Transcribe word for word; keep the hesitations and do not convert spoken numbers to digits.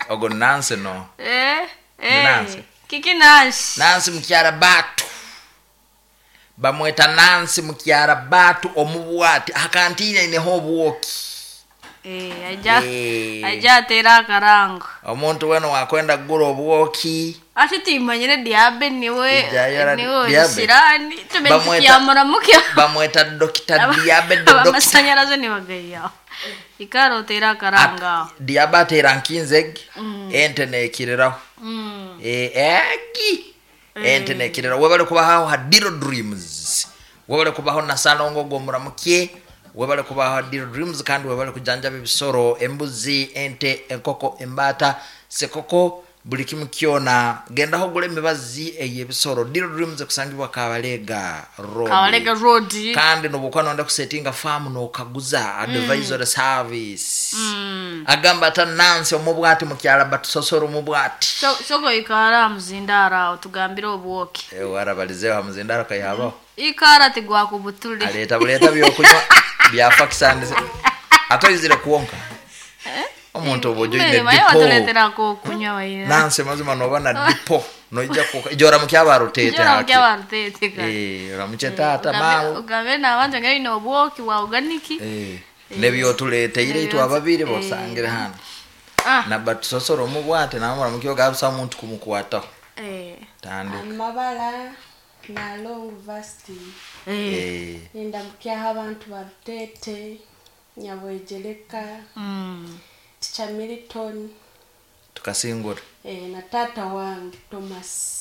Ogo Nancy no. Eh, eh. Nancy. Kiki Nancy. Nancy mukyara batu. Bamweta Nancy mukyara batu omubwati akantiina ineho obwoki. Eh, aja Eh. aja atera akarango. Omuntu wena wakwenda kugura obwoki. Ati timanyire diabe niwe Ijayora niwe Diabe. shirani tumenye Bamweta- tukiyamuramuke. Bamweta Dokita Diabe the doctor. Amasanyarazi nibagayaho. Ikara otera akarango aho. Diabe ateera nkinzegi ente nekiriraho. Mm. Eh, egi ente nekiriraho. Webale kubaho ha Diro Dreams. Webale kubaho na Salongo gomuramuke. Webale kubaho ha Diro Dreams kandi webale kujanjaba ebisoro, embuzi, ente, enkoko, embaata, sekoko, buli kimu kyona. Gendaho ogule emibazi ey'ebisoro. Diro Dreams ekusangibwa Kabalega Road. Kabalega Road. Kandi nobukuba nonda kusetinga farm nokaguza advisory service. Mm. Agamba ata Nancy omubwati mukyala batusosora omubwati. So soko ikara muzindara aho tugambire obwoki. Eh, warabalizeho hamuzindaro kayabaho. Ikara tigwakubutule. Aleta buleta byokunywa byafakisanize atoizire kuwonka omuntu oba ojoine Mbere, maye dipo watuletera kokunywa waira. Nancy mazima noba na dipo noija kuka ijora mukyaba rutete Ijora haki mukyaba rutete ka. eh oramuche tata Ugambe- mawo Ugambe n'abantu nga bine obwoki bwa organic. eh nebyotuleteire itwe ababiri bosangire hano Ah. na batusosora omubwate namura mukyo gabisa omuntu kumukwataho Eh. tandika. Amabara nalongo vasti. Eh. Eh. Nindamukyaho abantu ba Rutete, Nyabwegereka, Mm. Ticha Milton, tukasingura eh, na tata wange Thomas.